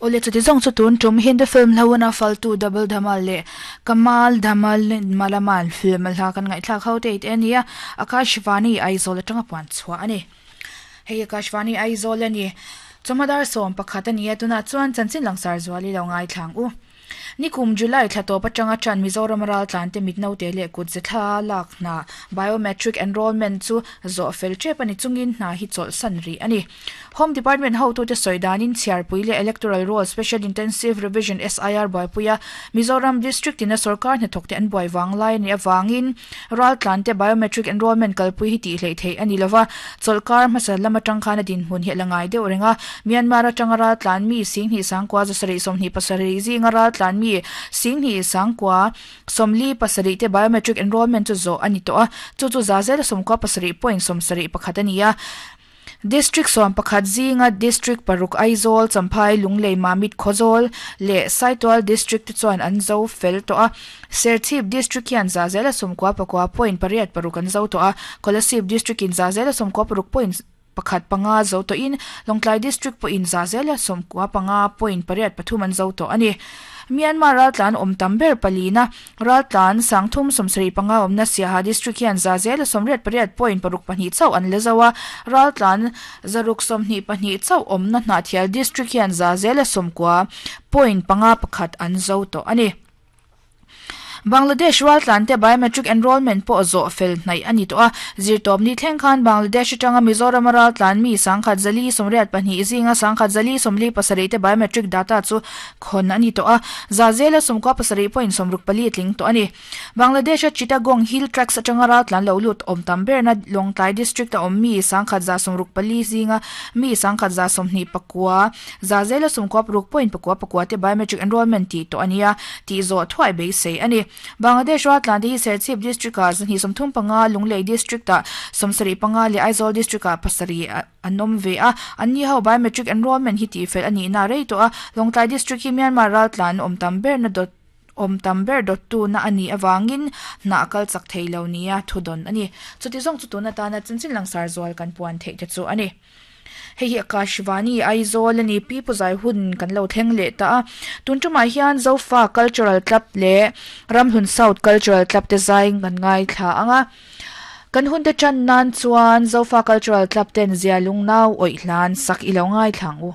Awle chuti zawng chu tun tum Hindi film hlauhna Faltu Double Dhamaal leh Kamaal Dhamaal Malamaal film a hla kan ngaihthlak ho te te a ni a, Akashvani Aizawl atanga puan chhuah a ni. Hei Akashvani Aizawl a ni. Chawhma dar 11 a ni a, tunah chuan chanchin langsar zual i lo ngaithlang u. Nikum July thla tawp atanga tan Mizoram raltlante mitnote leh kutze thla lak hna Biometric Enrolment chu zawh fel tep a ni chungin hna hi chawlhsan rih a ni. Home Department hotute sawi danin chhiarpui leh Electoral Roll Special Intensive Revision, SIR, buaipuia Mizoram District ina sorkar hnathawkte an buai vang lai a nih avangin raltlante biometric enrolment kalpui hi tih hleih theih a ni lova, chawlhkar hmasa lam atang khan a dinhmun hi a la ngai deuh reng a. Myanmar atanga raltlan mi Singhnih Sangkua zasarih 27 zinga raltlan mi Singhnih Sangkua 47 te biometric enrolment chu zawh a ni tawh a, chu chu za zela 97 point 71 a ni a. District 11 zinga District paruk Aizawl, Champhai, Lunglei, Mamit, Khawzawl leh Saitual District te chuan an zo fel tawh a. Serchhip District hian za zela 99 point 86 an zo tawh a, Kolasib District in za zela 96 point 15 zo tawhin Lawngtlai District pawhin za zela 95 point 83 an zo tawh a ni. Myanmar raltlan awm tam ber palina Raltlan 375 awmna Siaha District hian za zela 88 point 62 chauh an la zo a, Raltlan 622 chauh awmna Hnahthial District hian za zela 90 point 51 an zo tawh a ni. Bangladesh raltlante biometric enrolment pawh zawh fel hnaih a ni tawh a, zirtawpni thleng khan Bangladesh atanga Mizorama raltlan mi 1,182 zinga 1,147 te biometric data chu khawn a ni tawh a, za zela 97 point 64 tling tawh a ni. Bangladesh-a Chittagong Hill Tracts atanga raltlan lo lut awm tam berna Lawngtlai District-a awm mi 1,164 zinga mi 1,129 za zela 96 point 99 te biometric enrolment tih tawh a nia tih zawh thuai beisei a ni. Bangladesh raltlan te hi Serchhip District-ah 235, Lunglei District-ah 75 leh Aizawl District-ah 7 an awm ve a, anni ho biometric enrolment hi tihfel a nihna a rei tawh a, Lawngtlai District hi Myanmar raltlan awm tam berna dawt awm tam ber dawttuna a nih avangin hna a kal chak thei lo nia thudawn a ni. Chuti zawng chu tun atana chanchin langsar zual kan puan theih te chu a ni. Hei hi Akashvani Aizawl a ni, Pi Pu Zai hun kan lo thleng leh ta a. Tun tumah hian Zofa Cultural Club leh Ramhlun South Cultural Club te zai kan ngaithla ang a. Kan hun te tan nan chuan Zofa Cultural Club ten zia lungnau awih hlan sak i lo ngaithla ang u.